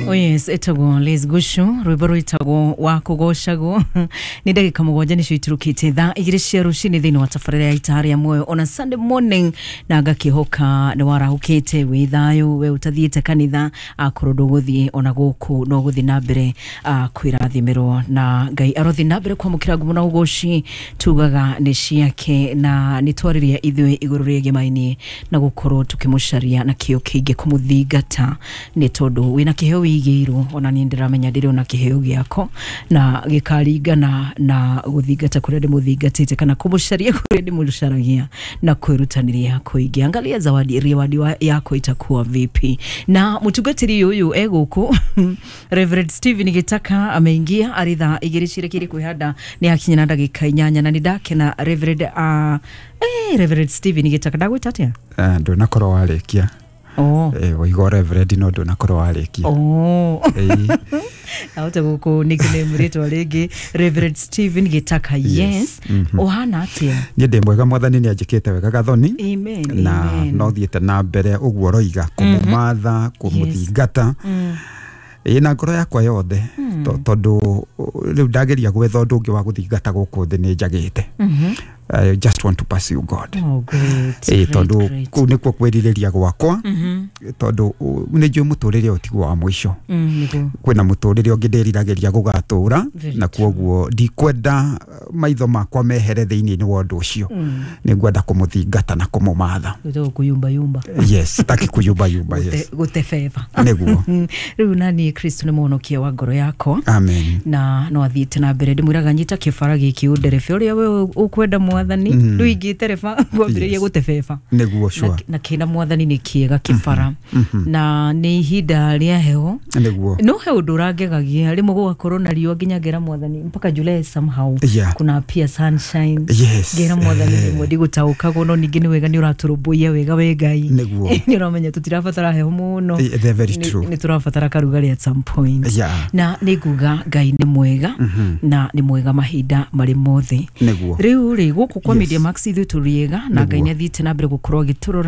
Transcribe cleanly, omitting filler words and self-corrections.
Oh yes, etagwo Liz Gushu, rwimbo rwitagwo wa kugocagwo. Nĩ ndagĩka 7 nĩcio iturukĩte thaa 2 cia rũcinĩ thĩinĩ wa tabarĩra ya Itaha rĩa Muoyo on a Sunday morning, na ngakĩhoka nĩ warahũkĩte wĩ thayũ, we ũtathiĩte kanitha, akorwo ndũgũthiĩ ona gũkũ no gũthiĩ na mbere kwĩrathimĩrwo, na Ngai arothiĩ na mbere kwamũkĩra ngumo na ũgoci tugaga nĩ ciake. Na nĩ twarĩria ithuĩ igũrũ rĩgemaini na gũkorwo tũkĩmũcaria na kĩo kĩingĩ kũmũthingata, nĩ tondũ wĩna kĩheo wĩigĩirwo. Ona niĩ ndĩramenya ndĩrĩ ona kĩheo gĩako na gĩkaringana na gũthingata kũrĩa ndĩmũthingatĩte kana kũmũcaria kũrĩa ndĩmũcaragia na kwĩrutanĩria kũingĩ. Angalia zawadi reward yako itakuwa vipi. Na mũtungatĩri ũyũ e gũkũ, Reverend Stephen Gitaka, ameingia arĩ thaa 2 cirekeire kwĩhanda, nĩ akinya na ndagĩka 8, na nĩ ndakena. Reverend, Reverend Stephen Gitaka, ndagwĩta atĩa? Ndũnakorwo warĩkia. Oh. Waigua reverend no ndũnakorwo warĩkia. Oh. Ĩĩ. Ahota gũkũ nickname rĩtwa rĩngĩ, Reverend Stephen Gitaka, yes. Yes. Ũhana atĩa? Niĩ ndĩ mwega, Mwathani nĩ anjĩkĩte wega, Gathoni. Amen. Na amen. no thiĩte na mbere ũguo ũroiga kũmũmatha, kũmũthingata, ĩĩ, na ngoro yakwa yothe, tondũ rĩu ndageria gwetha ũndũ ũngĩ wa gũthingata gũkũ thĩ nĩ njagĩte. I just want to pursue God. Oh, great. Ĩĩ, great, tondũ great. kũu nĩkuo kwĩrirĩria gwakwa, tondũ nĩ njũĩ mũtũrĩre ũyũ tiguo wa mũico. Nĩguo. Kwĩna mũtũrĩre ũngĩ ndĩriragĩria gũgatũra, Very. na kwoguo ndikwenda maitho makwa mehere thĩinĩ wa ũndũ ũcio. Nĩ ngwenda kũmũthingata na kũmũmatha. Gwĩtagwo kũyumbayumba. Yes, sitaki kuyumbayumba, yes. Gũtebeba. Nĩguo. Rĩu nani Kristo nĩ mũhonokia wa ngoro yakwa. Amen. Na no athiĩte na mbere, ndĩmwĩraga nyita kĩbara gĩkĩ ũnderebe ũrĩa we ũkwenda Mwathani. Rĩu ingĩ tereba ngwambĩrĩria gũtebeba. Nĩguo, sure. Na kĩna Mwathani nĩ kĩega kĩbara, na nĩ ihinda rĩa heho. Nĩguo. No he ũndũ ũrangegagia, rĩmwe gũgakorwo na riũa nginya ngera Mwathani mpaka July somehow kuna pia sunshine. Ngera Mwathani, rĩmwe ndigũtaũkagwo, no ningĩ nĩ wega, nĩ ũratũrũmbũiya wega we Ngai. Nĩguo. Nĩ ũramenya tũtirabatara heho mũno. They're very true. Nĩ tũrabatara karugarĩ at some point. Na nĩ nguga Ngai nĩ mwega, na nĩ mwega mahinda marĩ mothe. Nĩguo. Rĩu rĩ, gũkũ kwa Yes. Media Max ithuĩ tũrĩega na Ngai Nĩguo. nĩ athiĩte na mbere gũkorwo agĩtũrora.